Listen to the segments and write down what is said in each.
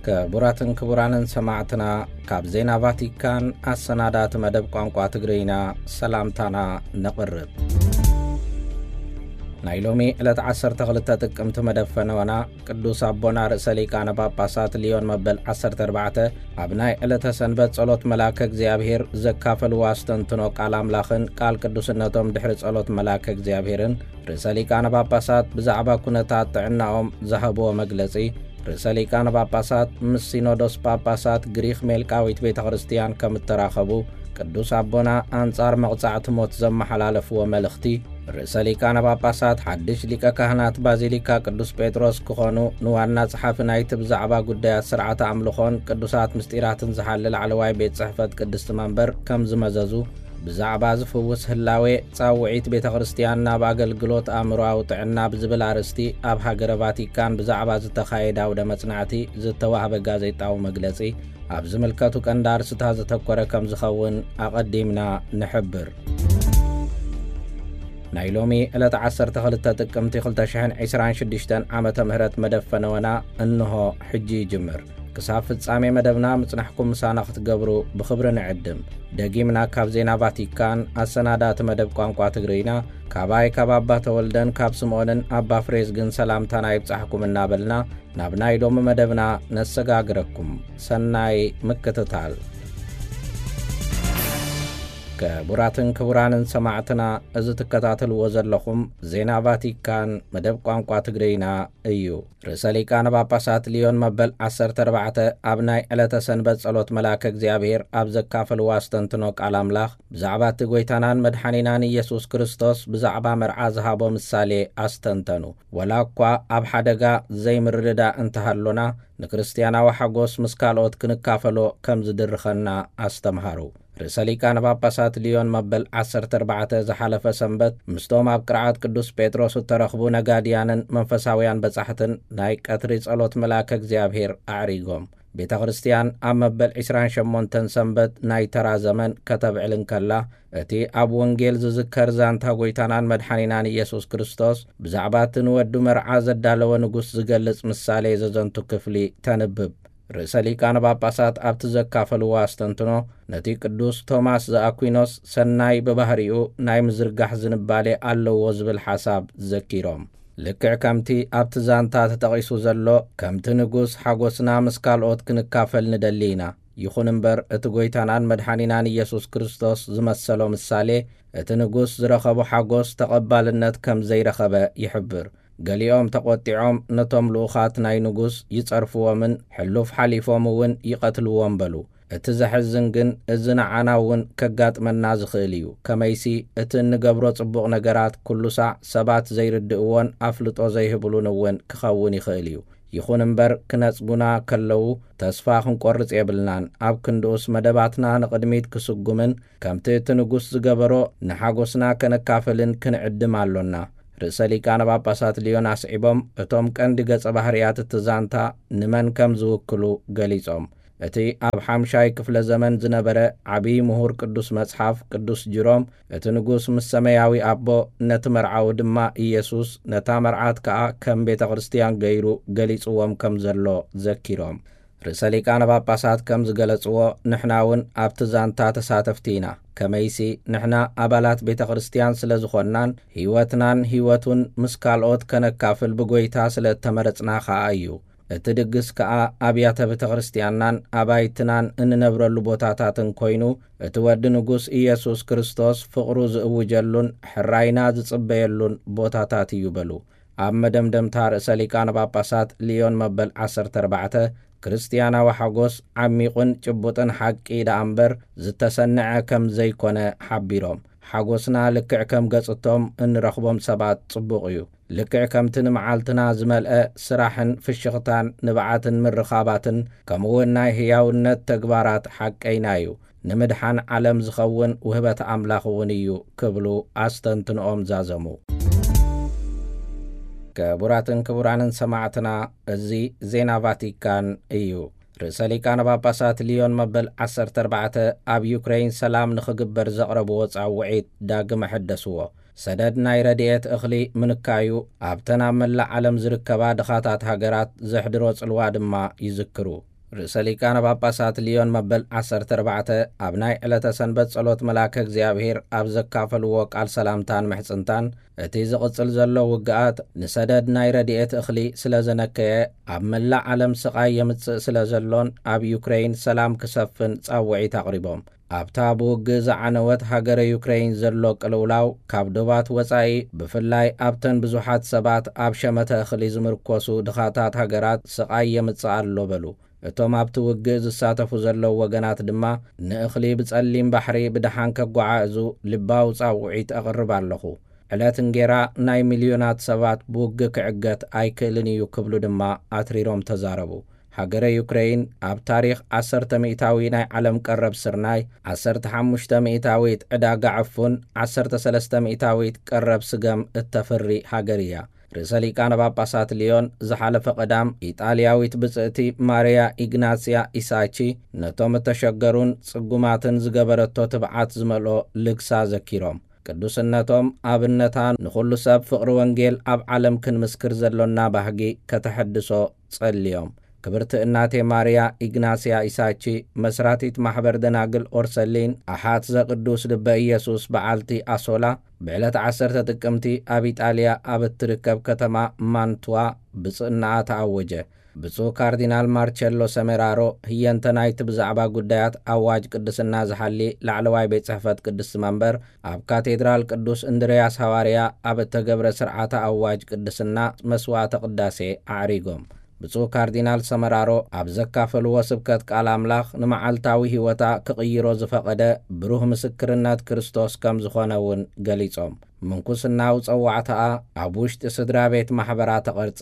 ክቡራትን ክቡራንን ሰማዕትና፣ ካብ ዜና ቫቲካን ኣሰናዳእቲ መደብ ቋንቋ ትግርኛ ሰላምታና ነቕርብ። ናይ ሎሚ ዕለት ዓሰርተ ክልተ ጥቅምቲ መደብ ፈነወና ቅዱስ ኣቦና ርእሰ ሊቃነ ጳጳሳት ሊዮን መበል ዓሰርተ ኣርባዕተ ኣብ ናይ ዕለተ ሰንበት ጸሎት መልኣከ እግዚኣብሔር ዘካፈልዎ ኣስተንትኖ ቃል ኣምላኽን ቃል ቅዱስነቶም ድሕሪ ጸሎት መልኣከ እግዚኣብሔርን ርእሰ ሊቃነ ጳጳሳት ብዛዕባ ኩነታት ጥዕናኦም ዝሃብዎ መግለጺ፣ ርእሰ ሊቃነ ጳጳሳት ምስ ሲኖዶስ ጳጳሳት ግሪኽ ሜልቃዊት ቤተ ክርስቲያን ከም እተራኸቡ፣ ቅዱስ ኣቦና ኣንጻር መቕጻዕቲ ሞት ዘመሓላለፍዎ መልእኽቲ፣ ርእሰ ሊቃነ ጳጳሳት ሓድሽ ሊቀ ካህናት ባዚሊካ ቅዱስ ጴጥሮስ ክኾኑ፣ ንዋና ጸሓፊ ናይቲ ብዛዕባ ጉዳያት ስርዓተ ኣምልኾን ቅዱሳት ምስጢራትን ዝሓሊ ላዕለዋይ ቤት ጽሕፈት ቅድስቲ መንበር ከም ዝመዘዙ፣ ብዛዕባ ዝፍውስ ህላዌ ጻውዒት ቤተ ክርስቲያን ናብ ኣገልግሎት ኣእምሮኣዊ ጥዕና ብዝብል ኣርእስቲ ኣብ ሃገረ ቫቲካን ብዛዕባ ዝተኻየደ ኣውደ መጽናዕቲ ዝተዋህበ ጋዜጣዊ መግለጺ ኣብ ዝምልከቱ ቀንዲ ኣርእስታት ዘተኮረ ከም ዝኸውን ኣቐዲምና ንሕብር። ናይ ሎሚ ዕለት ዓሰርተ ክልተ ጥቅምቲ ክልተ ሽሕን ዕስራን ሽዱሽተን ዓመተ ምህረት መደብ ፈነወና እንሆ ሕጂ ይጅምር። ክሳብ ፍጻሜ መደብና ምጽናሕኩም ምሳና ክትገብሩ ብኽብሪ ንዕድም። ደጊምና ካብ ዜና ቫቲካን ኣሰናዳእቲ መደብ ቋንቋ ትግርኛ፣ ካባይ ካብ ኣባ ተወልደን ካብ ስምኦንን ኣባ ፍሬዝግን ሰላምታና ይብጻሕኩም እናበልና፣ ናብ ናይ ሎሚ መደብና ነሰጋግረኩም። ሰናይ ምክትታል። ክቡራትን ክቡራንን ሰማዕትና፣ እዚ ትከታተልዎ ዘለኹም ዜና ቫቲካን መደብ ቋንቋ ትግርኛ እዩ። ርእሰ ሊቃነ ጳጳሳት ሊዮን መበል ዓሰርተ ኣርባዕተ ኣብ ናይ ዕለተ ሰንበት ጸሎት መልኣከ እግዚኣብሔር ኣብ ዘካፈልዎ ኣስተንትኖ ቃል ኣምላኽ፣ ብዛዕባ እቲ ጐይታናን መድሓኒናን ኢየሱስ ክርስቶስ ብዛዕባ መርዓ ዝሃቦ ምሳሌ ኣስተንተኑ። ወላ እኳ ኣብ ሓደጋ ዘይምርድዳእ እንተሃሎና፣ ንክርስትያናዊ ሓጎስ ምስ ካልኦት ክንካፈሎ ከም ዝድርኸና ኣስተምሃሩ። ርእሰ ሊቃነ ጳጳሳት ሊዮን መበል ዓሰርተ ኣርባዕተ ዝሓለፈ ሰንበት ምስቶም ኣብ ቅርዓት ቅዱስ ጴጥሮስ እተረኽቡ ነጋድያንን መንፈሳውያን በጻሕትን ናይ ቀትሪ ጸሎት መልኣከ እግዚኣብሔር ኣዕሪጎም። ቤተ ክርስቲያን ኣብ መበል ዕስራን ሸሞንተን ሰንበት ናይ ተራ ዘመን ከተብዕል እንከላ፣ እቲ ኣብ ወንጌል ዝዝከር ዛንታ ጐይታናን መድሓኒናን ኢየሱስ ክርስቶስ ብዛዕባ እቲ ንወዱ መርዓ ዘዳለወ ንጉስ ዝገልጽ ምሳሌ ዘዘንቱ ክፍሊ ተንብብ። ርእሰ ሊቃነ ጳጳሳት ኣብቲ ዘካፈልዎ ኣስተንትኖ፣ ነቲ ቅዱስ ቶማስ ዘኣኩይኖስ ሰናይ ብባህሪኡ ናይ ምዝርጋሕ ዝንባሌ ኣለዎ ዝብል ሓሳብ ዘኪሮም፣ ልክዕ ከምቲ ኣብቲ ዛንታ ተጠቒሱ ዘሎ፣ ከምቲ ንጉስ ሓጎስና ምስ ካልኦት ክንካፈል ንደሊ ኢና። ይኹን እምበር፣ እቲ ጐይታናን መድሓኒናን ኢየሱስ ክርስቶስ ዝመሰሎ ምሳሌ፣ እቲ ንጉስ ዝረኸቦ ሓጎስ ተቐባልነት ከም ዘይረኸበ ይሕብር። ገሊኦም ተቖጢዖም ነቶም ልኡኻት ናይ ንጉስ ይጸርፍዎምን ሕሉፍ ሓሊፎም እውን ይቐትልዎም በሉ። እቲ ዘሕዝን ግን፣ እዚ ንዓና እውን ከጋጥመና ዝኽእል እዩ። ከመይሲ፣ እቲ እንገብሮ ጽቡቕ ነገራት ኩሉ ሳዕ ሰባት ዘይርድእዎን ኣፍልጦ ዘይህብሉን እውን ክኸውን ይኽእል እዩ። ይኹን እምበር፣ ክነጽጉና ከለዉ ተስፋ ክንቆርጽ የብልናን። ኣብ ክንድኡስ፣ መደባትና ንቕድሚት ክስጉምን ከምቲ እቲ ንጉስ ዝገበሮ ንሓጎስና ከነካፍልን ክንዕድም ኣሎና። ርእሰ ሊቃነ ጳጳሳት ሊዮን ኣስዒቦም፣ እቶም ቀንዲ ገጸ ባህርያት እቲ ዛንታ ንመን ከም ዝውክሉ ገሊጾም። እቲ ኣብ ሓምሻይ ክፍለ ዘመን ዝነበረ ዓብዪ ምሁር ቅዱስ መጽሓፍ ቅዱስ ጅሮም፣ እቲ ንጉስ ምስ ሰማያዊ ኣቦ፣ ነቲ መርዓዊ ድማ ኢየሱስ፣ ነታ መርዓት ከኣ ከም ቤተ ክርስቲያን ገይሩ ገሊጽዎም ከም ዘሎ ዘኪሮም፣ ርእሰ ሊቃነ ጳጳሳት ከም ዝገለጽዎ፣ ንሕና እውን ኣብቲ ዛንታ ተሳተፍቲ ኢና። ከመይሲ፣ ንሕና ኣባላት ቤተ ክርስቲያን ስለ ዝኾንናን፣ ህይወትናን ህይወቱን ምስ ካልኦት ከነካፍል ብጐይታ ስለ እተመረጽና ኸኣ እዩ። እቲ ድግስ ከኣ ኣብያተ ቤተ ክርስቲያንናን ኣባይትናን እንነብረሉ ቦታታትን ኮይኑ፣ እቲ ወዲ ንጉስ ኢየሱስ ክርስቶስ ፍቕሩ ዝእውጀሉን ሕራይና ዝጽበየሉን ቦታታት እዩ በሉ። ኣብ መደምደምታ ርእሰ ሊቃነ ጳጳሳት ሊዮን መበል ዓሰርተ ኣርባዕተ፣ ክርስትያናዊ ሓጎስ ዓሚቑን ጭቡጥን ሓቂ ደኣ እምበር ዝተሰንዐ ከም ዘይኮነ ሓቢሮም፣ ሓጎስና ልክዕ ከም ገጽቶም እንረኽቦም ሰባት ጽቡቕ እዩ። ልክዕ ከምቲ ንመዓልትና ዝመልአ ስራሕን ፍሽኽታን ንብዓትን ምርኻባትን፣ ከምኡውን ናይ ህያውነት ተግባራት ሓቀይና እዩ። ንምድሓን ዓለም ዝኸውን ውህበት ኣምላኽ እውን እዩ ክብሉ ኣስተንትንኦም ዛዘሙ። ክቡራትን ክቡራንን ሰማዕትና፣ እዚ ዜና ቫቲካን እዩ። ርእሰ ሊቃነ ጳጳሳት ሊዮን መበል ዓሰርተ ኣርባዕተ ኣብ ዩክሬን ሰላም ንኽግበር ዘቕረብዎ ጻውዒት ዳግም ኣሐደስዎ። ሰደድ ናይ ረድኤት እኽሊ ምንካዩ ኣብተን ኣብ መላእ ዓለም ዝርከባ ድኻታት ሃገራት ዘሕድሮ ጽልዋ ድማ ይዝክሩ። ርእሰ ሊቃነ ጳጳሳት ልዮን መበል ዓሰርተ ኣርባዕተ ኣብ ናይ ዕለተ ሰንበት ጸሎት መልኣከ እግዚኣብሔር ኣብ ዘካፈልዎ ቃል ሰላምታን ምሕጽንታን፣ እቲ ዝቕጽል ዘሎ ውግኣት ንሰደድ ናይ ረድኤት እኽሊ ስለ ዘነከየ፣ ኣብ መላእ ዓለም ስቓይ የምጽእ ስለ ዘሎን ኣብ ዩክረይን ሰላም ክሰፍን ጻውዒት ኣቕሪቦም። ኣብታ ብውግእ ዝዓነወት ሃገረ ዩክረይን ዘሎ ቅልውላው፣ ካብ ዶባት ወጻኢ፣ ብፍላይ ኣብተን ብዙሓት ሰባት ኣብ ሸመተ እኽሊ ዝምርኮሱ ድኻታት ሃገራት ስቓይ የምጽእ ኣሎ በሉ። እቶም ኣብቲ ውግእ ዝሳተፉ ዘለዉ ወገናት ድማ፣ ንእኽሊ ብጸሊም ባሕሪ ብደሓን ከጓዓዕዙ ልባዊ ጻውዒት ኣቕርብ ኣለኹ። ዕለት እንጌራ ናይ ሚልዮናት ሰባት ብውግእ ክዕገት ኣይክእልን እዩ ክብሉ ድማ ኣትሪሮም ተዛረቡ። ሃገረ ዩክረይን ኣብ ታሪኽ ዓሰርተ ሚእታዊ ናይ ዓለም ቀረብ ስርናይ፣ ዓሰርተ ሓሙሽተ ሚእታዊት ዕዳጋ ዕፉን፣ ዓሰርተ ሰለስተ ሚእታዊት ቀረብ ስገም እተፍሪ ሃገር እያ። ርእሰ ሊቃነ ጳጳሳት ልዮን ዝሓለፈ ቀዳም፣ ኢጣልያዊት ብጽእቲ ማርያ ኢግናስያ ኢሳቺ ነቶም እተሸገሩን ጽጉማትን ዝገበረቶ ትብዓት ዝመልኦ ልግሳ ዘኪሮም፣ ቅዱስነቶም ኣብነታ ንኹሉ ሰብ ፍቕሪ ወንጌል ኣብ ዓለም ክንምስክር ዘሎና ባህጊ ከተሐድሶ ጸልዮም። ክብርቲ እናቴ ማርያ ኢግናስያ ኢሳቺ፣ መስራቲት ማሕበር ደናግል ኦርሰሊን፣ ኣሓት ዘቅዱስ ልበ ኢየሱስ በዓልቲ ኣሶላ፣ ብዕለት ዓሰርተ ጥቅምቲ ኣብ ኢጣልያ ኣብ እትርከብ ከተማ ማንቱዋ ብጽእናኣ ተኣወጀ። ብፁዕ ካርዲናል ማርቸሎ ሰሜራሮ፣ ህየንተ ናይቲ ብዛዕባ ጉዳያት ኣዋጅ ቅድስና ዝሓሊ ላዕለዋይ ቤት ጽሕፈት ቅድስቲ መንበር፣ ኣብ ካቴድራል ቅዱስ እንድርያስ ሃዋርያ ኣብ እተገብረ ስርዓተ ኣዋጅ ቅድስና መስዋዕተ ቅዳሴ ኣዕሪጎም። ብፁዕ ካርዲናል ሰመራሮ ኣብ ዘካፈልዎ ስብከት ቃል ኣምላኽ፣ ንመዓልታዊ ህይወታ ክቕይሮ ዝፈቐደ ብሩህ ምስክርነት ክርስቶስ ከም ዝኾነ እውን ገሊጾም። ምንኩስናዊ ጸዋዕታኣ ኣብ ውሽጢ ስድራ ቤት ማሕበራ ተቐርጸ።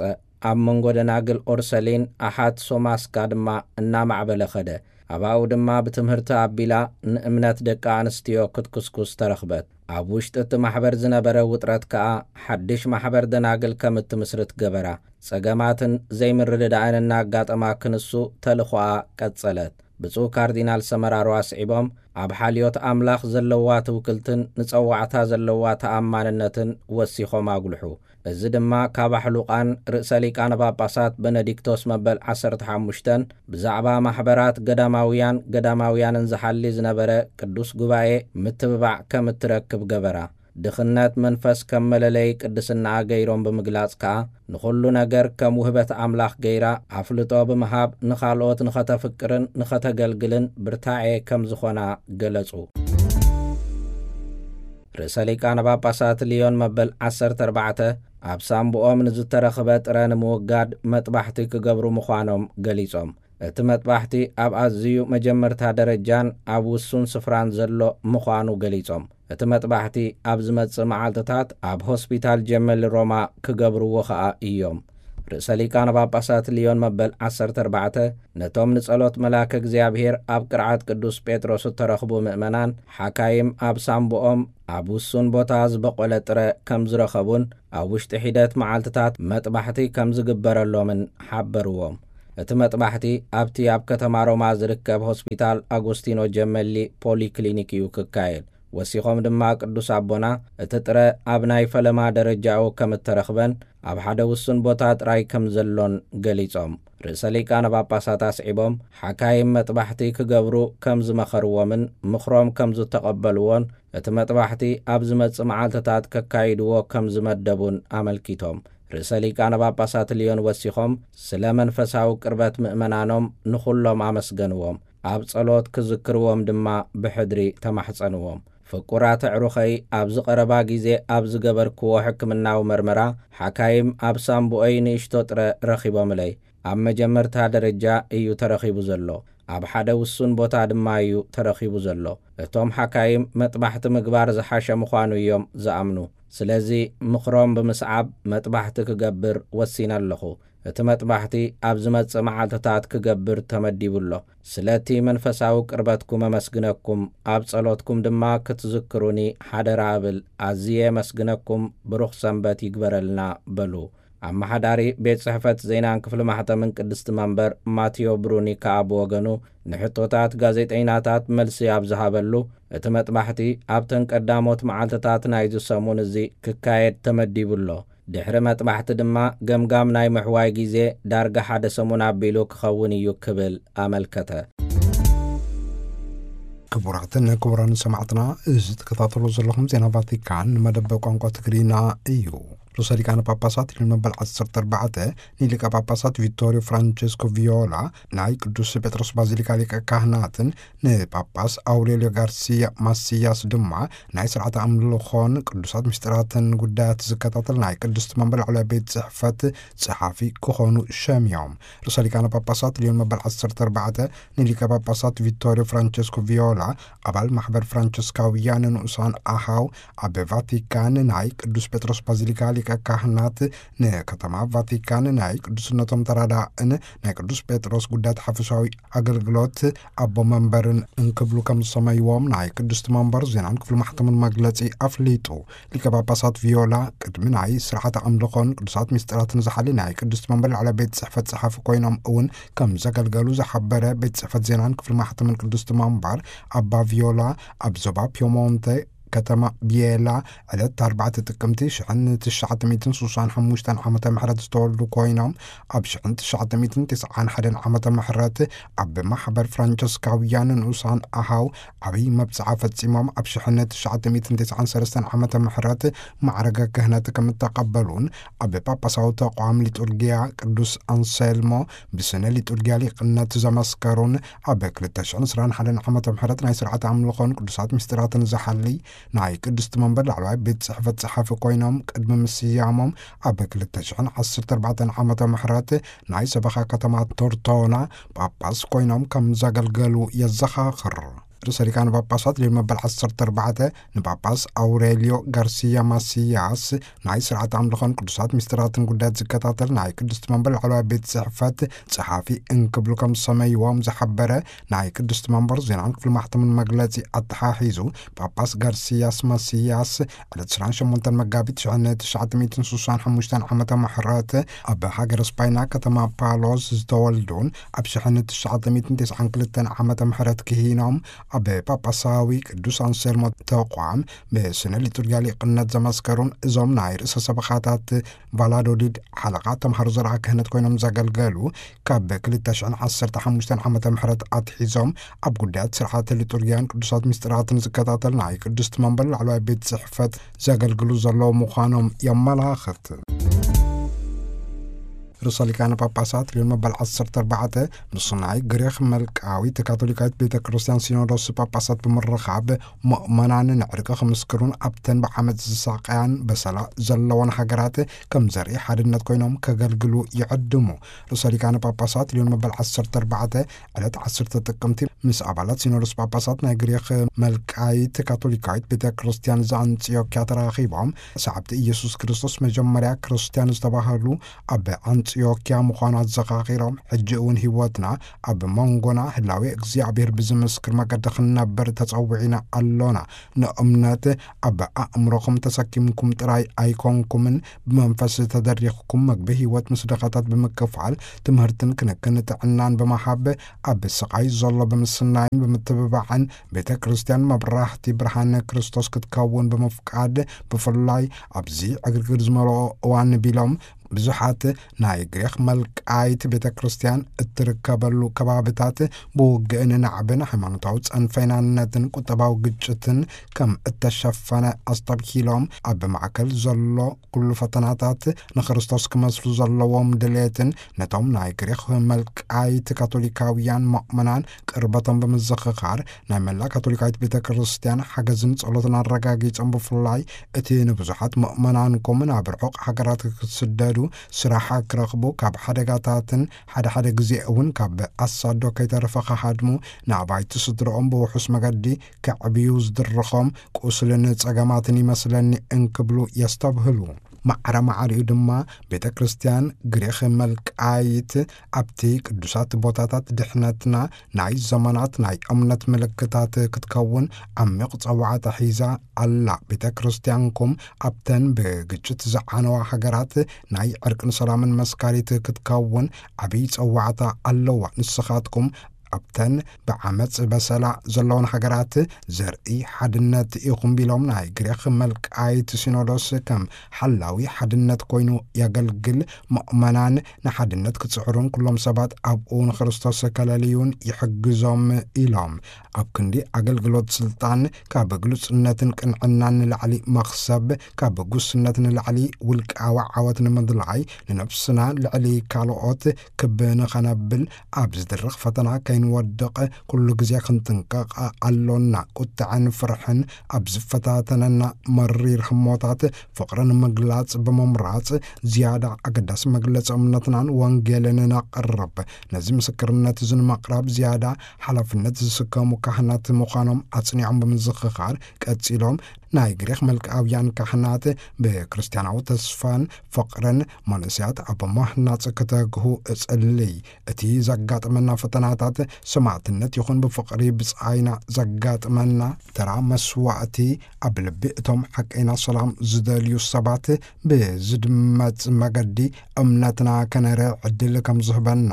ኣብ መንጎ ደናግል ኦርሰሊን ኣሓት ሶማስካ ድማ እናማዕበለ ኸደ። ኣባኡ ድማ ብትምህርቲ ኣቢላ ንእምነት ደቂ ኣንስትዮ ክትኩስኩስ ተረኽበት። ኣብ ውሽጢ እቲ ማሕበር ዝነበረ ውጥረት ከኣ ሓድሽ ማሕበር ደናግል ከም እትምስርት ገበራ። ጸገማትን ዘይምርድዳእን እናጋጠማ ክንሱ ተልእኾኣ ቀጸለት። ብፁዕ ካርዲናል ሰመራሮ ኣስዒቦም፣ ኣብ ሓልዮት ኣምላኽ ዘለዋ ትውክልትን ንጸዋዕታ ዘለዋ ተኣማንነትን ወሲኾም ኣጉልሑ። እዚ ድማ ካብ ኣሕሉቓን ርእሰ ሊቃነ ጳጳሳት በነዲክቶስ መበል ዓሰርተ ሓሙሽተን ብዛዕባ ማሕበራት ገዳማውያን ገዳማውያንን ዝሓሊ ዝነበረ ቅዱስ ጉባኤ ምትብባዕ ከም እትረክብ ገበራ። ድኽነት መንፈስ ከም መለለዪ ቅድስናኣ ገይሮም ብምግላጽ ከኣ፣ ንኹሉ ነገር ከም ውህበት ኣምላኽ ገይራ ኣፍልጦ ብምሃብ ንኻልኦት ንኸተፍቅርን ንኸተገልግልን ብርታዔ ከም ዝኾና ገለጹ። ርእሰ ሊቃነ ጳጳሳት ልዮን መበል ዓሰርተ ኣርባዕተ ኣብ ሳምብኦም ንዝተረኽበ ጥረ ንምውጋድ መጥባሕቲ ክገብሩ ምዃኖም ገሊጾም። እቲ መጥባሕቲ ኣብ ኣዝዩ መጀመርታ ደረጃን ኣብ ውሱን ስፍራን ዘሎ ምዃኑ ገሊጾም፣ እቲ መጥባሕቲ ኣብ ዝመጽእ መዓልትታት ኣብ ሆስፒታል ጀመል ሮማ ክገብርዎ ኸኣ እዮም። ርእሰ ሊቃነ ጳጳሳት ልዮን መበል ዓሰርተ ኣርባዕተ ነቶም ንጸሎት መልኣከ እግዚኣብሔር ኣብ ቅርዓት ቅዱስ ጴጥሮስ እተረኽቡ ምእመናን፣ ሓካይም ኣብ ሳምብኦም ኣብ ውሱን ቦታ ዝበቖለ ጥረ ከም ዝረኸቡን ኣብ ውሽጢ ሒደት መዓልትታት መጥባሕቲ ከም ዝግበረሎምን ሓበርዎም። እቲ መጥባሕቲ ኣብቲ ኣብ ከተማ ሮማ ዝርከብ ሆስፒታል ኣጎስቲኖ ጀመሊ ፖሊክሊኒክ እዩ ክካየድ። ወሲኾም ድማ ቅዱስ ኣቦና፣ እቲ ጥረ ኣብ ናይ ፈለማ ደረጃኡ ከም እተረኽበን ኣብ ሓደ ውሱን ቦታ ጥራይ ከም ዘሎን ገሊጾም። ርእሰ ሊቃነ ጳጳሳት ኣስዒቦም፣ ሓካይም መጥባሕቲ ክገብሩ ከም ዝመኸርዎምን ምኽሮም ከም ዝተቐበልዎን፣ እቲ መጥባሕቲ ኣብ ዝመጽእ መዓልትታት ከካይድዎ ከም ዝመደቡን ኣመልኪቶም። ርእሰ ሊቃነ ጳጳሳት ልዮን ወሲኾም፣ ስለ መንፈሳዊ ቅርበት ምእመናኖም ንኹሎም ኣመስገንዎም። ኣብ ጸሎት ክዝክርዎም ድማ ብሕድሪ ተማሕጸንዎም። ፍቁራት ኣዕሩኸይ፣ ኣብዚ ቀረባ ግዜ ኣብ ዝገበርክዎ ሕክምናዊ መርመራ፣ ሓካይም ኣብ ሳምቡኦይ ንእሽቶ ጥረ ረኺቦምለይ። ኣብ መጀመርታ ደረጃ እዩ ተረኺቡ ዘሎ። ኣብ ሓደ ውሱን ቦታ ድማ እዩ ተረኺቡ ዘሎ። እቶም ሓካይም መጥባሕቲ ምግባር ዝሓሸ ምዃኑ እዮም ዝኣምኑ። ስለዚ ምኽሮም ብምስዓብ መጥባሕቲ ክገብር ወሲነ ኣለኹ። እቲ መጥባሕቲ ኣብ ዝመጽእ መዓልትታት ክገብር ተመዲቡ ኣሎ። ስለቲ መንፈሳዊ ቅርበትኩም ኣመስግነኩም፣ ኣብ ጸሎትኩም ድማ ክትዝክሩኒ ሓደራ እብል። ኣዝየ ኣመስግነኩም፣ ብሩኽ ሰንበት ይግበረልና በሉ። ኣመሓዳሪ ቤት ጽሕፈት ዜናን ክፍሊ ማሕተምን ቅድስቲ መንበር ማቴዮ ብሩኒ ከኣ ብወገኑ፣ ንሕቶታት ጋዜጠይናታት መልሲ ኣብ ዝሃበሉ፣ እቲ መጥባሕቲ ኣብተን ቀዳሞት መዓልትታት ናይዚ ሰሙን እዚ ክካየድ ተመዲቡ ኣሎ። ድሕሪ መጥባሕቲ ድማ ገምጋም ናይ ምሕዋይ ግዜ ዳርጋ ሓደ ሰሙን ኣቢሉ ክኸውን እዩ ክብል ኣመልከተ። ክቡራትን ክቡራን ሰማዕትና፣ እዚ ትከታተሉ ዘለኹም ዜና ቫቲካን መደብ ቋንቋ ትግርኛ እዩ። ርእሰ ሊቃነ ጳጳሳት ሊዮን መበል ዓሰርተ ኣርባዕተ ንሊቀ ጳጳሳት ቪቶሪዮ ፍራንቸስኮ ቪዮላ ናይ ቅዱስ ጴጥሮስ ባዚሊካ ሊቀ ካህናትን ንጳጳስ ኣውሬልዮ ጋርሲያ ማስያስ ድማ ናይ ስርዓተ ኣምልኾን ቅዱሳት ምስጢራትን ጉዳያት ዝከታተል ናይ ቅድስቲ መንበር ላዕለዋይ ቤት ጽሕፈት ጸሓፊ ክኾኑ ሸሚዮም። ርእሰ ሊቃነ ጳጳሳት ሊዮን መበል ዓሰርተ ኣርባዕተ ንሊቀ ጳጳሳት ቪቶሪዮ ፍራንቸስኮ ቪዮላ፣ ኣባል ማሕበር ፍራንቸስካውያን ንኡሳን ኣሃው፣ ኣብ ቫቲካን ናይ ቅዱስ ጴጥሮስ ባዚሊካ ሊቀ ካህናት፣ ንከተማ ቫቲካን ናይ ቅዱስነቶም ተራዳእን ናይ ቅዱስ ጴጥሮስ ጉዳያት ሓፈሻዊ ኣገልግሎት ኣቦ መንበርን እንክብሉ ከም ዝሰመይዎም ናይ ቅድስቲ መንበር ዜናን ክፍሊ ማሕተምን መግለጺ ኣፍሊጡ። ሊቀ ጳጳሳት ቪዮላ ቅድሚ ናይ ስርዓተ ኣምልኾን ቅዱሳት ምስጢራትን ዝሓሊ ናይ ቅድስቲ መንበር ላዕለዋይ ቤት ጽሕፈት ጸሓፊ ኮይኖም እውን ከም ዘገልገሉ ዝሓበረ ቤት ጽሕፈት ዜናን ክፍሊ ማሕተምን ቅድስቲ መንበር፣ ኣባ ቪዮላ ኣብ ዞባ ፒየሞንተ ከተማ ቢየላ ዕለት ኣርባዕተ ጥቅምቲ ሽሕን ትሽዓተ ሚእትን ስሳን ሓሙሽተን ዓመተ ምሕረት ዝተወልዱ ኮይኖም፣ ኣብ ሽሕን ትሽዓተ ሚእትን ተስዓን ሓደን ዓመተ ምሕረት ኣብ ማሕበር ፍራንቸስካውያን ንኡሳን ኣሃው ዓብይ መብጽዓ ፈጺሞም፣ ኣብ ሽሕን ትሽዓተ ሚእትን ተስዓን ሰለስተን ዓመተ ምሕረት ማዕረገ ክህነት ከም እተቐበሉን፣ ኣብ ጳጳሳዊ ተቋም ሊጡርጊያ ቅዱስ ኣንሴልሞ ብስነ ሊጡርጊያ ሊቅነት ዘመስከሩን፣ ኣብ ክልተ ሽሕን ዕስራን ሓደን ዓመተ ምሕረት ናይ ስርዓተ ኣምልኾን ቅዱሳት ምስጢራትን ዝሓሊ ናይ ቅድስቲ መንበር ላዕለዋይ ቤት ጽሕፈት ጸሓፊ ኮይኖም ቅድሚ ምስያሞም፣ ኣብ ክልተ ሽሕን ዓሰርተ ኣርባዕተን ዓመተ ምሕረት ናይ ሰበኻ ከተማ ቶርቶና ጳጳስ ኮይኖም ከም ዘገልገሉ የዘኻኽር። ርእሰ ሊቃነ ጳጳሳት ሊዮን መበል ዓሰርተ ኣርባዕተ ንጳጳስ ኣውሬልዮ ጋርሲያ ማስያስ ናይ ስርዓት ኣምልኾን ቅዱሳት ምስጢራትን ጉዳያት ዝከታተል ናይ ቅድስቲ መንበር ላዕለዋይ ቤት ጽሕፈት ጸሓፊ እንክብሉ ከም ዝሰመይዎም ዝሓበረ ናይ ቅድስቲ መንበር ዜናን ክፍሊ ማሕተምን መግለጺ ኣተሓሒዙ፣ ጳጳስ ጋርሲያስ ማስያስ ዕለት ዕስራን ሸሞንተን መጋቢት ሽሕን ትሽዓተ ሚእትን ስሳን ሓሙሽተን ዓመተ ምሕረት ኣብ ሃገረ ስፓይና ከተማ ፓሎስ ዝተወልዱን ኣብ ሽሕን ትሽዓተ ሚእትን ተስዓን ክልተን ዓመተ ምሕረት ክሂኖም ኣብ ጳጳሳዊ ቅዱስ ኣንሰልሞ ተቋም ብስነ ሊጡርጊያ ሊቅነት ዘመስከሩን እዞም ናይ ርእሰ ሰበኻታት ቫላዶሊድ ሓለቓ ተምሃሮ ዘርዓ ክህነት ኮይኖም ዘገልገሉ፣ ካብ ክልተ ሽሕን ዓሰርተ ሓሙሽተን ዓመተ ምሕረት ኣትሒዞም ኣብ ጉዳያት ስርዓተ ሊጡርጊያን ቅዱሳት ምስጢራትን ዝከታተል ናይ ቅድስቲ መንበር ላዕለዋይ ቤት ጽሕፈት ዘገልግሉ ዘለዉ ምዃኖም የመላኽት። ርእሰ ሊቃነ ጳጳሳት ሊዮን መበል ዓሰርተ ኣርባዕተ ምስ ናይ ግሪኽ መልቃዊት ካቶሊካዊት ቤተ ክርስቲያን ሲኖዶስ ጳጳሳት ብምርኻብ፣ ምእመናን ንዕርቂ ክምስክሩን ኣብተን ብዓመጽ ዝሳቀያን በሰላ ዘለዎን ሃገራት ከም ዘርኢ ሓድነት ኮይኖም ከገልግሉ ይዕድሙ። ርእሰ ሊቃነ ጳጳሳት ሊዮን መበል ዓሰርተ ኣርባዕተ ዕለት ዓሰርተ ጥቅምቲ ምስ ኣባላት ሲኖዶስ ጳጳሳት ናይ ግሪኽ መልቃይት ካቶሊካዊት ቤተ ክርስቲያን ዘኣንጽዮክያ ተራኺቦም፣ ሰዓብቲ ኢየሱስ ክርስቶስ መጀመርያ ክርስቲያን ዝተባህሉ ኣብ ኣንጽዮክያ ምዃኑ ኣዘኻኺሮም፣ ሕጂ እውን ህይወትና ኣብ መንጎና ህላዌ እግዚኣብሔር ብዝምስክር መገዲ ክንነብር ተጸዊዕና ኣሎና። ንእምነት ኣብ ኣእምሮኹም ተሰኪምኩም ጥራይ ኣይኮንኩምን፣ ብመንፈስ ተደሪኽኩም መግቢ ህይወት ምስ ድኻታት ብምክፋል፣ ትምህርትን ክንክን ጥዕናን ብምሃብ፣ ኣብ ስቓይ ዘሎ ብምስናይን ብምትብባዕን፣ ቤተ ክርስቲያን መብራህቲ ብርሃን ክርስቶስ ክትከውን ብምፍቃድ፣ ብፍላይ ኣብዚ ዕግርግር ዝመልኦ እዋን ቢሎም፣ ብዙሓት ናይ ግሪኽ መልቃይት ቤተ ክርስቲያን እትርከበሉ ከባብታት ብውግእን ናዕብን፣ ሃይማኖታዊ ጸንፈይናነትን ቁጠባዊ ግጭትን ከም እተሸፈነ ኣስተብሂሎም፣ ኣብ ማእከል ዘሎ ኩሉ ፈተናታት ንክርስቶስ ክመስሉ ዘለዎም ድሌትን ነቶም ናይ ግሪኽ መልቃይት ካቶሊካውያን ምእመናን ቅርበቶም ብምዝኽኻር፣ ናይ መላእ ካቶሊካዊት ቤተ ክርስቲያን ሓገዝን ጸሎትን ኣረጋጊጾም፣ ብፍላይ እቲ ንብዙሓት ምእመናንኩም ናብ ርሑቕ ሃገራት ክስደዱ ስራሕ ክረኽቡ፣ ካብ ሓደጋታትን ሓደ ሓደ ግዜ እውን ካብ ኣሳዶ ከይተረፈ ክሃድሙ፣ ንኣባይቲ ስድረኦም ብውሑስ መገዲ ከዕብዩ ዝድርኾም ቁስልን ጸገማትን ይመስለኒ እንክብሉ የስተብህሉ። ማዕረ ማዕሪኡ ድማ ቤተ ክርስቲያን ግሪኽ መልቃይት ኣብቲ ቅዱሳት ቦታታት ድሕነትና ናይ ዘመናት ናይ እምነት ምልክታት ክትከውን ዓሚቕ ጸዋዕታ ሒዛ ኣላ። ቤተ ክርስቲያንኩም ኣብተን ብግጭት ዝዓነዋ ሃገራት ናይ ዕርቅን ሰላምን መስካሪት ክትከውን ዓብዪ ጸዋዕታ ኣለዋ። ንስኻትኩም ኣብተን ብዓመጽ በሰላ ዘለውን ሃገራት ዘርኢ ሓድነት ኢኹም ቢሎም፣ ናይ ግሪኽ መልቃይት ሲኖዶስ ከም ሓላዊ ሓድነት ኮይኑ የገልግል፣ ምእመናን ንሓድነት ክጽዕሩን ኩሎም ሰባት ኣብኡ ንክርስቶስ ከለልዩን ይሕግዞም ኢሎም። ኣብ ክንዲ ኣገልግሎት ስልጣን ካብ ግሉጽነትን ቅንዕናን ንላዕሊ መኽሰብ፣ ካብ ጉስነት ንላዕሊ ውልቃዊ ዓወት ንምድላይ፣ ንነብስና ልዕሊ ካልኦት ክብ ንኸነብል፣ ኣብ ዝድርኽ ፈተና ከይንወድቕ ኩሉ ግዜ ክንጥንቀቕ ኣሎና። ቁጥዐን ፍርሕን ኣብ ዝፈታተነና መሪር ህሞታት ፍቕሪ ንምግላጽ ብምምራጽ፣ ዝያዳ ኣገዳሲ መግለጺ እምነትናን ወንጌልን ነቕርብ። ነዚ ምስክርነት እዚ ንምቕራብ ዝያዳ ሓላፍነት ዝስከሙ ካህናት ምዃኖም ኣጽኒዖም ብምዝኽኻር፣ ቀጺሎም፣ ናይ ግሪኽ መልክኣውያን ካህናት ብክርስትያናዊ ተስፋን ፍቕርን መንእሰያት ኣብ ምህናጽ ክተግሁ እጽልይ። እቲ ዘጋጥመና ፈተናታት ሰማዕትነት ይኹን ብፍቕሪ ብጻይና ዘጋጥመና ተራ መስዋእቲ፣ ኣብ ልቢ እቶም ሓቀይና ሰላም ዝደልዩ ሰባት ብዝድመጽ መገዲ እምነትና ከነርኢ ዕድል ከም ዝህበና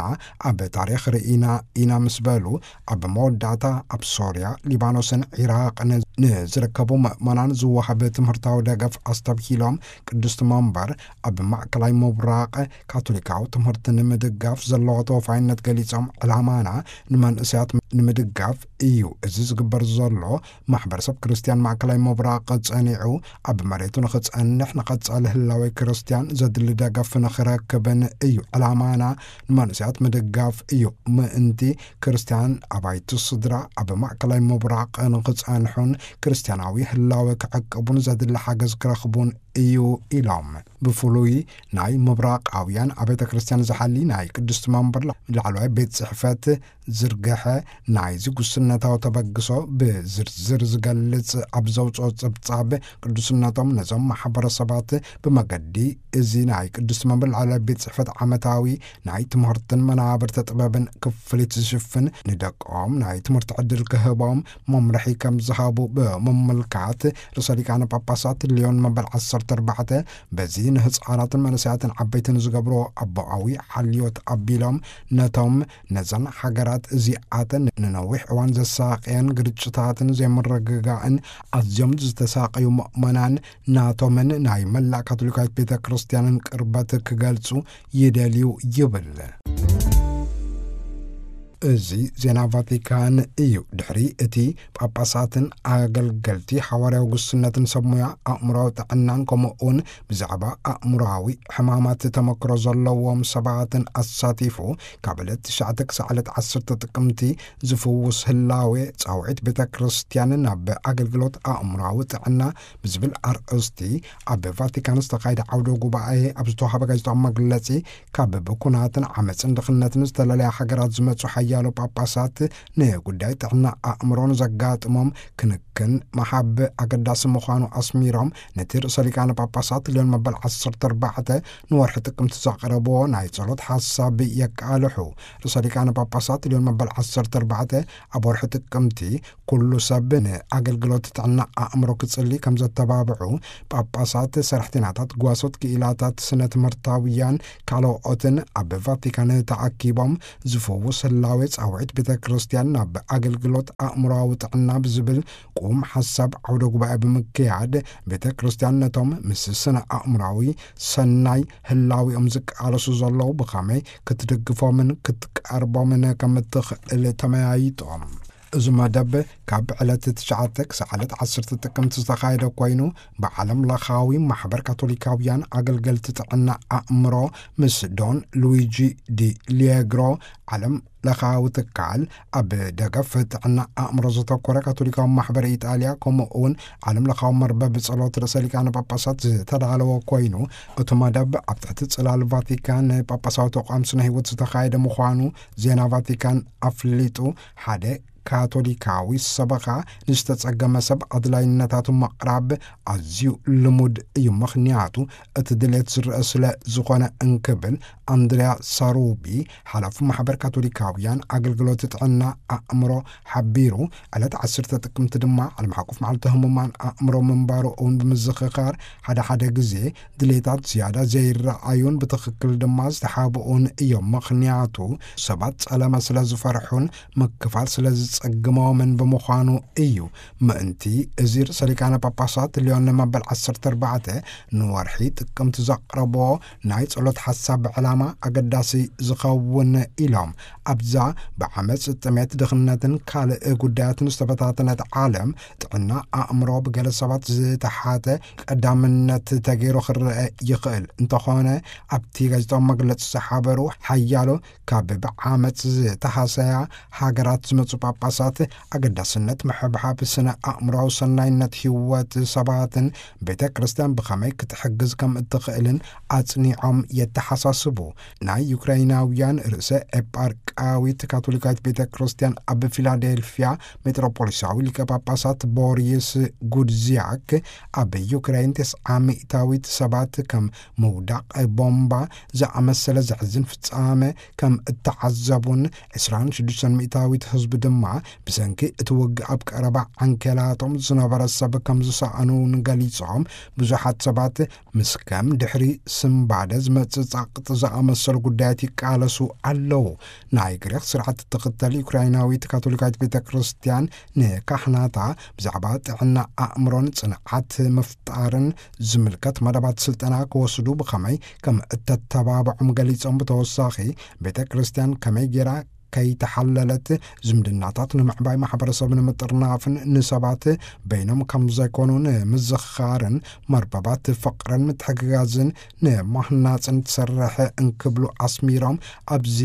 ኣብ ታሪኽ ርኢና ኢና ምስ በሉ፣ ኣብ መወዳእታ ኣብ ሶርያ፣ ሊባኖስን ዒራቕን ንዝርከቡ ምእመናን ዝወሃብ ትምህርታዊ ደገፍ ኣስተብሂሎም፣ ቅድስቲ መንበር ኣብ ማእከላይ ምብራቕ ካቶሊካዊ ትምህርቲ ንምድጋፍ ዘለዎ ተወፋይነት ገሊጾም፣ ዕላማና ንመንእሰያት ንምድጋፍ እዩ። እዚ ዝግበር ዘሎ ማሕበረሰብ ክርስትያን ማእከላይ ምብራቕ ጸኒዑ ኣብ መሬቱ ንኽጸንሕ፣ ንቐጻሊ ህላዌ ክርስትያን ዘድሊ ደገፍ ንኽረክብን እዩ። ዕላማና ንመንእሰያት ምድጋፍ እዩ። ምእንቲ ክርስትያን ኣባይቲ ስድራ ኣብ ማእከላይ ምብራቕ ንኽጸንሑን ክርስትያናዊ ህላወ ክዕቅቡን ዘድሊ ሓገዝ ክረኽቡን እዩ ኢሎም። ብፍሉይ ናይ ምብራቓውያን ኣብ ቤተ ክርስትያን ዝሓሊ ናይ ቅድስቲ መንበር ላዕለዋይ ቤት ጽሕፈት ዝርግሐ ናይዚ ጉስነታዊ ተበግሶ ብዝርዝር ዝገልጽ ኣብ ዘውፅኦ ጸብጻብ፣ ቅዱስነቶም ነዞም ማሕበረሰባት ብመገዲ እዚ ናይ ቅድስቲ መንበር ላዕለዋይ ቤት ጽሕፈት ዓመታዊ ናይ ትምህርትን መናብርተ ጥበብን ክፍሊት ዝሽፍን፣ ንደቆም ናይ ትምህርቲ ዕድል ክህቦም መምርሒ ከም ዝሃቡ ብምምልካት፣ ርእሰ ሊቃነ ጳጳሳት ሊዮን መበል ዓሰርተ ኣርባዕተ በዚ ንህፃናትን መንእሰያትን ዓበይትን ዝገብሮ ኣቦኣዊ ሓልዮት ኣቢሎም፣ ነቶም ነዘን ሃገራት እዚኣተን ንነዊሕ እዋን ዘሳቀየን ግርጭታትን ዘይምርግጋእን ኣዝዮም ዝተሳቀዩ ምእመናን ናቶምን ናይ መላእ ካቶሊካዊት ቤተ ክርስቲያንን ቅርበት ክገልጹ ይደልዩ ይብል። እዚ ዜና ቫቲካን እዩ። ድሕሪ እቲ ጳጳሳትን ኣገልገልቲ ሓዋርያዊ ጉስነትን ሰብ ሞያ ኣእምሮዊ ጥዕናን ከምኡ እውን ብዛዕባ ኣእምሮዊ ሕማማት ተመክሮ ዘለዎም ሰባትን ኣሳቲፉ፣ ካብ ዕለት ትሽዓተ ክሳዕ ዕለት ዓሰርተ ጥቅምቲ ዝፍውስ ህላዌ ጻውዒት ቤተ ክርስቲያን ናብ ኣገልግሎት ኣእምሮዊ ጥዕና ብዝብል ኣርእስቲ ኣብ ቫቲካን ዝተኻየደ ዓውደ ጉባኤ ኣብ ዝተዋሃበ ጋዜጣዊ መግለጺ፣ ካብ ብኩናትን ዓመፅን ድኽነትን ዝተለለያ ሃገራት ዝመጹ ሓያሎ ጳጳሳት ንጉዳይ ጥዕና ኣእምሮ ንዘጋጥሞም ክንክን ምሃብ ኣገዳሲ ምዃኑ ኣስሚሮም፣ ነቲ ርእሰ ሊቃነ ጳጳሳት ልዮን መበል ዓሰርተ ኣርባዕተ ንወርሒ ጥቅምቲ ዘቕረብዎ ናይ ጸሎት ሓሳብ የቃልሑ። ርእሰ ሊቃነ ጳጳሳት ልዮን መበል ዓሰርተ ኣርባዕተ ኣብ ወርሒ ጥቅምቲ ኩሉ ሰብ ንኣገልግሎት ጥዕና ኣእምሮ ክጽሊ ከም ዘተባብዑ፣ ጳጳሳት፣ ሰራሕተኛታት፣ ጓሶት፣ ክኢላታት፣ ስነ ትምህርታውያን ካልኦትን ኣብ ቫቲካን ተኣኪቦም ዝፍውስ ህላዌ ጻውዒት ቤተ ክርስቲያን ናብ ኣገልግሎት ኣእምሮዊ ጥዕና ብዝብል ቁም ሓሳብ ዓውደ ጉባኤ ብምክያድ፣ ቤተ ክርስቲያን ነቶም ምስ ስነ ኣእምሮዊ ሰናይ ህላዊኦም ዝቃለሱ ዘለዉ ብኸመይ ክትድግፎምን ክትቀርቦምን ከም እትኽእል ተመያይጦም። እዚ መደብ ካብ ዕለት ትሽዓተ ክሳዕ ዕለት ዓሰርተ ጥቅምቲ ዝተኻየደ ኮይኑ፣ ብዓለም ለኻዊ ማሕበር ካቶሊካውያን ኣገልገልቲ ጥዕና ኣእምሮ ምስ ዶን ሉዊጂ ዲ ሊየግሮ ዓለም ለኻዊ ትካል ኣብ ደገፍ ጥዕና ኣእምሮ ዘተኮረ ካቶሊካዊ ማሕበር ኢጣልያ፣ ከምኡ እውን ዓለም ለኻዊ መርበብ ጸሎት ርእሰ ሊቃነ ጳጳሳት ዝተዳለወ ኮይኑ፣ እቲ መደብ ኣብ ትሕቲ ጽላል ቫቲካን ጳጳሳዊ ተቋም ስነ ህይወት ዝተኻየደ ምዃኑ ዜና ቫቲካን ኣፍሊጡ። ሓደ ካቶሊካዊ ሰበኻ ንዝተጸገመ ሰብ ኣድላይነታቱ ምቕራብ ኣዝዩ ልሙድ እዩ፣ ምኽንያቱ እቲ ድሌት ዝረአ ስለ ዝኾነ እንክብል ኣንድርያ ሳሩቢ፣ ሓላፊ ማሕበር ካቶሊካውያን ኣገልግሎት ጥዕና ኣእምሮ ሓቢሩ። ዕለት ዓሰርተ ጥቅምቲ ድማ ዓለም ሓቆፍ መዓልቲ ህሙማን ኣእምሮ ምንባሩ እውን ብምዝኽኻር፣ ሓደ ሓደ ግዜ ድሌታት ዝያዳ ዘይረኣዩን ብትኽክል ድማ ዝተሓብኡን እዮም። ምኽንያቱ ሰባት ጸለመ ስለ ዝፈርሑን ምክፋል ስለ ዝጸግሞምን ብምዃኑ እዩ። ምእንቲ እዚ ርእሰ ሊቃነ ጳጳሳት ልዮን መበል ዓሰርተ ኣርባዕተ ንወርሒ ጥቅምቲ ዘቕረቦ ናይ ጸሎት ሓሳብ ዕላማ ኣገዳሲ ዝኸውን ኢሎም። ኣብዛ ብዓመጽ፣ ጥሜት፣ ድኽነትን ካልእ ጉዳያትን ዝተበታተነት ዓለም ጥዕና ኣእምሮ ብገለ ሰባት ዝተሓተ ቀዳምነት ተገይሩ ክረአ ይኽእል። እንተኾነ ኣብቲ ጋዜጣዊ መግለጺ ዝሓበሩ ሓያሎ ካብ ብዓመጽ ዝተሃሰያ ሃገራት ዝመጹ ጳጳሳት ኣገዳስነት ምሕብሓብ ስነ ኣእምሮዊ ሰናይነት ህይወት ሰባትን ቤተ ክርስቲያን ብኸመይ ክትሕግዝ ከም እትኽእልን ኣጽኒዖም የተሓሳስቡ። ናይ ዩክራይናውያን ርእሰ ኤጳርቃዊት ካቶሊካዊት ቤተ ክርስቲያን ኣብ ፊላዴልፊያ ሜትሮፖሊሳዊ ሊቀ ጳጳሳት ቦሪስ ጉድዚያክ ኣብ ዩክራይን ተስዓ ሚእታዊት ሰባት ከም ምውዳቕ ቦምባ ዝኣመሰለ ዘሕዝን ፍጻመ ከም እተዓዘቡን ዕስራን ሽዱሽተን ሚእታዊት ህዝቢ ድማ ብሰንኪ እቲ ውግእ ኣብ ቀረባ ዓንኬላቶም ዝነበረ ሰብ ከም ዝሰኣኑን ገሊጾም፣ ብዙሓት ሰባት ምስ ከም ድሕሪ ስንባደ ዝመጽእ ጻቕጢ ዝኣመሰሉ ጉዳያት ይቃለሱ ኣለዉ። ናይ ግሪኽ ስርዓት እትኽተል ዩክራይናዊት ካቶሊካዊት ቤተ ክርስቲያን ንካህናታ ብዛዕባ ጥዕና ኣእምሮን ጽንዓት ምፍጣርን ዝምልከት መደባት ስልጠና ክወስዱ ብኸመይ ከም እተተባብዖም ገሊጾም፣ ብተወሳኺ ቤተ ክርስቲያን ከመይ ጌራ ከይተሓለለት ዝምድናታት ንምዕባይ፣ ማሕበረሰብ ንምጥርናፍን ንሰባት በይኖም ከም ዘይኮኑ ንምዝኽኻርን መርበባት ፍቕርን ምትሕግጋዝን ንማህናጽን ትሰርሕ እንክብሉ ኣስሚሮም፣ ኣብዚ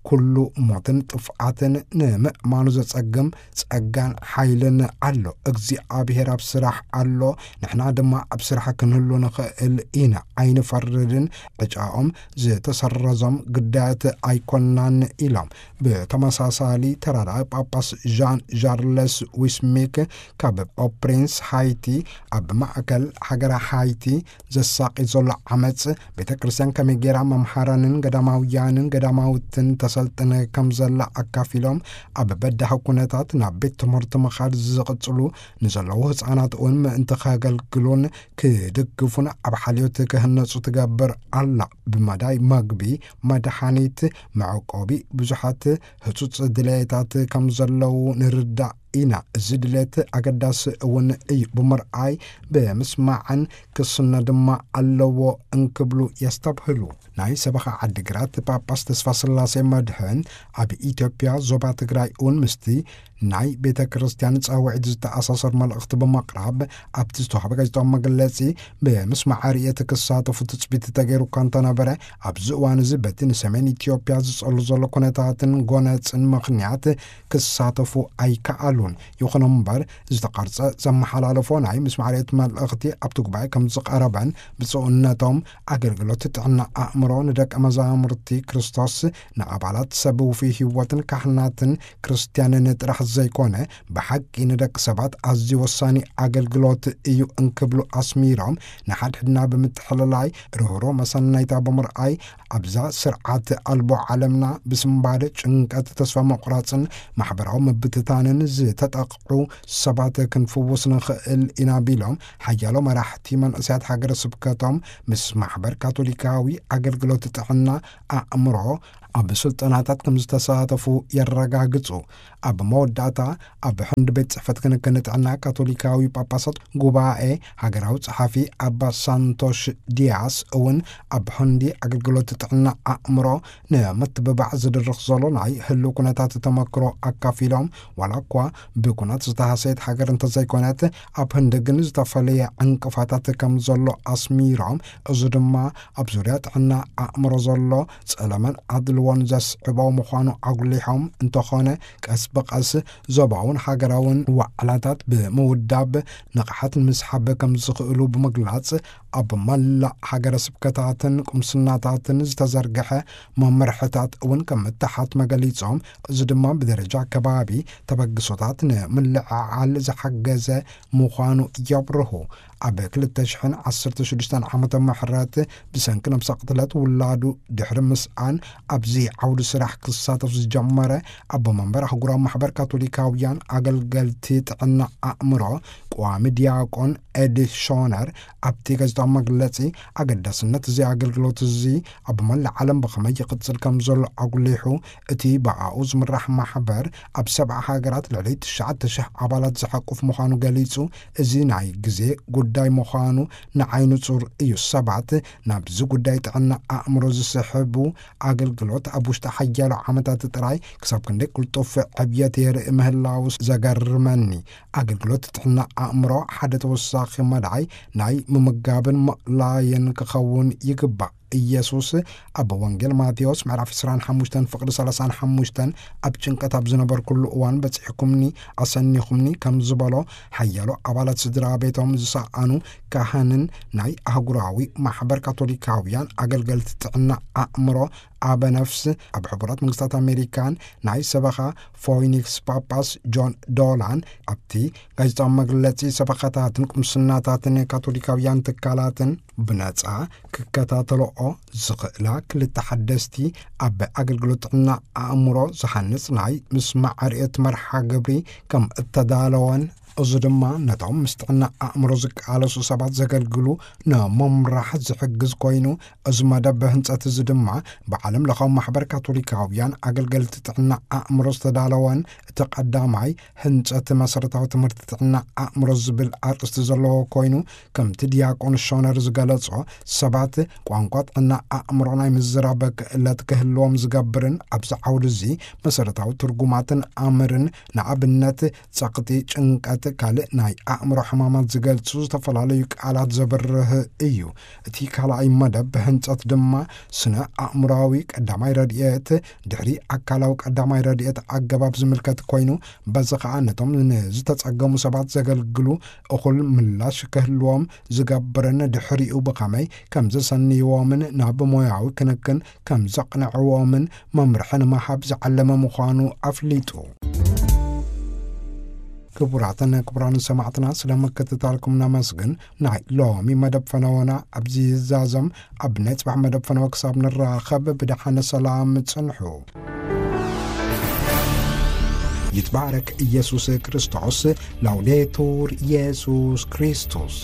ኩሉ ሞትን ጥፍኣትን ንምእማኑ ዘጸግም ጸጋን ሓይልን ኣሎ። እግዚኣብሔር ኣብ ስራሕ ኣሎ፣ ንሕና ድማ ኣብ ስራሕ ክንህሉ ንኽእል ኢና። ኣይንፈርድን፣ ዕጫኦም ዝተሰረዞም ግዳያት ኣይኮናን ኢሎም። ብተመሳሳሊ ተራዳኢ ጳጳስ ዣን ዣርለስ ዊስሚክ ካብ ኦፕሪንስ ሃይቲ ኣብ ማእከል ሃገረ ሃይቲ ዘሳቒ ዘሎ ዓመጽ ቤተ ክርስቲያን ከመይ ጌራ መምሃራንን ገዳማውያንን ገዳማውትን ተሰልጥነ ከም ዘላ ኣካፊሎም፣ ኣብ በዳሂ ኩነታት ናብ ቤት ትምህርቲ ምኻድ ዝቕጽሉ ንዘለዉ ህጻናት እውን ምእንቲ ከገልግሉን ክድግፉን ኣብ ሓልዮት ክህነጹ ትገብር ኣላ። ብመዳይ መግቢ፣ መድሓኒት፣ መዕቆቢ ብዙሓት ህጹጽ ድሌታት ከም ዘለዉ ንርዳእ ኢና። እዚ ድሌት ኣገዳሲ እውን እዩ። ብምርኣይ፣ ብምስማዕን ክስነ ድማ ኣለዎ እንክብሉ የስተብህሉ። ናይ ሰበኻ ዓዲግራት ጳጳስ ተስፋ ስላሴ መድህን ኣብ ኢትዮጵያ ዞባ ትግራይ እውን ምስቲ ናይ ቤተ ክርስቲያን ጻውዒት ዝተኣሳሰር መልእኽቲ ብምቕራብ ኣብቲ ዝተዋህበ ጋዜጣዊ መግለጺ፣ ብምስማዕ ርእየት ክሳተፉ ትጽቢት ተገይሩ እኳ እንተነበረ፣ ኣብዚ እዋን እዚ በቲ ንሰሜን ኢትዮጵያ ዝጸሉ ዘሎ ኩነታትን ጎነጽን ምኽንያት ክሳተፉ ኣይከኣሉን። ይኹን እምበር፣ ዝተቐርጸ ዘመሓላለፎ ናይ ምስማዕ ርእየት መልእኽቲ ኣብቲ ጉባኤ ከም ዝቐረበን ብፁዕነቶም ኣገልግሎት ጥዕና ኣእምሮ ንደቀ መዛሙርቲ ክርስቶስ፣ ንኣባላት ሰብ ውፉይ ህይወትን ካህናትን ክርስትያንን ጥራሕ ዘይኮነ፣ ብሓቂ ንደቂ ሰባት ኣዝዩ ወሳኒ ኣገልግሎት እዩ እንክብሉ ኣስሚሮም፣ ንሓድሕድና ብምትሕልላይ፣ ርህሮ መሰናይታ ብምርኣይ፣ ኣብዛ ስርዓት ኣልቦ ዓለምና ብስንባደ፣ ጭንቀት፣ ተስፋ ምቑራጽን ማሕበራዊ ምብትታንን ዝተጠቕዑ ሰባት ክንፍውስ ንኽእል ኢና ቢሎም፣ ሓያሎ መራሕቲ መንእሰያት ሃገረ ስብከቶም ምስ ማሕበር ካቶሊካዊ ኣገልግሎት ጥዕና ኣእምሮ ኣብ ስልጠናታት ከም ዝተሳተፉ የረጋግጹ። ኣብ መወዳእታ፣ ኣብ ሕንዲ ቤት ጽሕፈት ክንክን ጥዕና ካቶሊካዊ ጳጳሳት ጉባኤ ሃገራዊ ጸሓፊ ኣባ ሳንቶሽ ዲያስ እውን ኣብ ሕንዲ ኣገልግሎት ጥዕና ኣእምሮ ንምትብባዕ ዝድርኽ ዘሎ ናይ ህልው ኩነታት ተመክሮ ኣካፊሎም፣ ዋላ እኳ ብኩናት ዝተሃሰየት ሃገር እንተዘይኮነት፣ ኣብ ህንዲ ግን ዝተፈለየ ዕንቅፋታት ከም ዘሎ ኣስሚሮም፣ እዚ ድማ ኣብ ዙርያ ጥዕና ኣእምሮ ዘሎ ጸለመን ኣድልዎን ዘስዕቦ ምዃኑ ኣጉሊሖም፣ እንተኾነ ቀስ ብቐስ ዞባውን ሃገራውን ዋዕላታት ብምውዳብ ንቕሓት ንምስሓብ ከም ዝኽእሉ ብምግላጽ፣ ኣብ መላእ ሃገረ ስብከታትን ቁምስናታትን ዝተዘርግሐ መምርሕታት እውን ከም እተሓትመ ገሊጾም፣ እዚ ድማ ብደረጃ ከባቢ ተበግሶታት ንምልዕዓል ዝሓገዘ ምዃኑ የብርሁ። ኣብ ክልተ ሽሕን ዓሰርተ ሽዱሽተን ዓመተ ምሕረት ብሰንኪ ነብሰ ቅትለት ውላዱ ድሕሪ ምስኣን ኣብዚ ዓውዲ ስራሕ ክሳተፍ ዝጀመረ ኣቦ መንበር ኣህጉራዊ ማሕበር ካቶሊካውያን ኣገልገልቲ ጥዕና ኣእምሮ ቀዋሚ ዲያቆን ኤዲ ሾነር ኣብቲ ጋዜጣዊ መግለጺ ኣገዳስነት እዚ ኣገልግሎት እዚ ኣብ መላእ ዓለም ብኸመይ ይቕጽል ከም ዘሎ ኣጉሊሑ፣ እቲ ብኣኡ ዝምራሕ ማሕበር ኣብ ሰብዓ ሃገራት ልዕሊ ትሽዓተ ሽሕ ኣባላት ዝሓቁፍ ምዃኑ ገሊጹ፣ እዚ ናይ ግዜ ጉዳይ ምዃኑ ንዓይ ንጹር እዩ። ሰባት ናብዚ ጉዳይ ጥዕና ኣእምሮ ዝስሕቡ ኣገልግሎት ኣብ ውሽጢ ሓያሎ ዓመታት ጥራይ ክሳብ ክንደይ ቅልጡፍ ዕብየት የርኢ ምህላው ዘገርመኒ። ኣገልግሎት ጥዕና ኣእምሮ ሓደ ተወሳኺ መድዓይ ናይ ምምጋብን ምእላይን ክኸውን ይግባእ። ኢየሱስ ኣብ ወንጌል ማቴዎስ ምዕራፍ ዕስራን ሓሙሽተን ፍቕዲ ሰላሳን ሓሙሽተን፣ ኣብ ጭንቀት ኣብ ዝነበርኩሉ እዋን በጺሕኩምኒ፣ ኣሰኒኹምኒ ከም ዝበሎ፣ ሓያሎ ኣባላት ስድራ ቤቶም ዝሰኣኑ ካህንን ናይ ኣህጉራዊ ማሕበር ካቶሊካውያን ኣገልገልቲ ጥዕና ኣእምሮ ኣበ ነፍስ ኣብ ሕቡራት መንግስታት ኣሜሪካን ናይ ሰበኻ ፎይኒክስ ጳጳስ ጆን ዶላን ኣብቲ ጋዜጣዊ መግለጺ ሰበኻታትን ቁምስናታትን ካቶሊካውያን ትካላትን ብነጻ ክከታተልኦ ዝኽእላ ክልተ ሓደስቲ ኣብ ኣገልግሎት ጥዕና ኣእምሮ ዝሃንጽ ናይ ምስማዕ ርእየት መርሓ ግብሪ ከም እተዳለወን፣ እዚ ድማ ነቶም ምስ ጥዕና ኣእምሮ ዝቃለሱ ሰባት ዘገልግሉ ንምምራሕ ዝሕግዝ ኮይኑ፣ እዚ መደብ ህንጸት እዚ ድማ ብዓለም ለኻዊ ማሕበር ካቶሊካውያን ኣገልገልቲ ጥዕና ኣእምሮ ዝተዳለወን እቲ ቀዳማይ ህንጸት መሰረታዊ ትምህርቲ ጥዕና ኣእምሮ ዝብል ኣርእስቲ ዘለዎ ኮይኑ፣ ከምቲ ዲያቆን ሾነር ዝገለጾ፣ ሰባት ቋንቋ ጥዕና ኣእምሮ ናይ ምዝራብ ክእለት ክህልዎም ዝገብርን ኣብዚ ዓውዲ እዚ መሰረታዊ ትርጉማትን ኣምርን፣ ንኣብነት ጸቕጢ፣ ጭንቀት፣ ካልእ ናይ ኣእምሮ ሕማማት ዝገልጹ ዝተፈላለዩ ቃላት ዘብርህ እዩ። እቲ ካልኣይ መደብ ህንጸት ድማ ስነ ኣእምሮዊ ቀዳማይ ረድኤት ድሕሪ ኣካላዊ ቀዳማይ ረድኤት ኣገባብ ዝምልከት ኮይኑ፣ በዚ ኸኣ ነቶም ንዝተጸገሙ ሰባት ዘገልግሉ እኹል ምላሽ ክህልዎም ዝገብርን ድሕሪኡ ብኸመይ ከም ዘሰንይዎምን ናብ ሞያዊ ክንክን ከም ዘቕንዕዎምን መምርሒ ንምሃብ ዝዓለመ ምዃኑ ኣፍሊጡ። ክቡራትን ክቡራን ሰማዕትና፣ ስለ ምክትታልኩም ነመስግን። ናይ ሎሚ መደብ ፈነወና ኣብዚ ይዛዘም። ኣብ ናይ ጽባሕ መደብ ፈነወ ክሳብ ንራኸብ ብደሓነ ሰላም ጽንሑ። ይትባረክ ኢየሱስ ክርስቶስ። ላውዴቱር ኢየሱስ ክርስቶስ።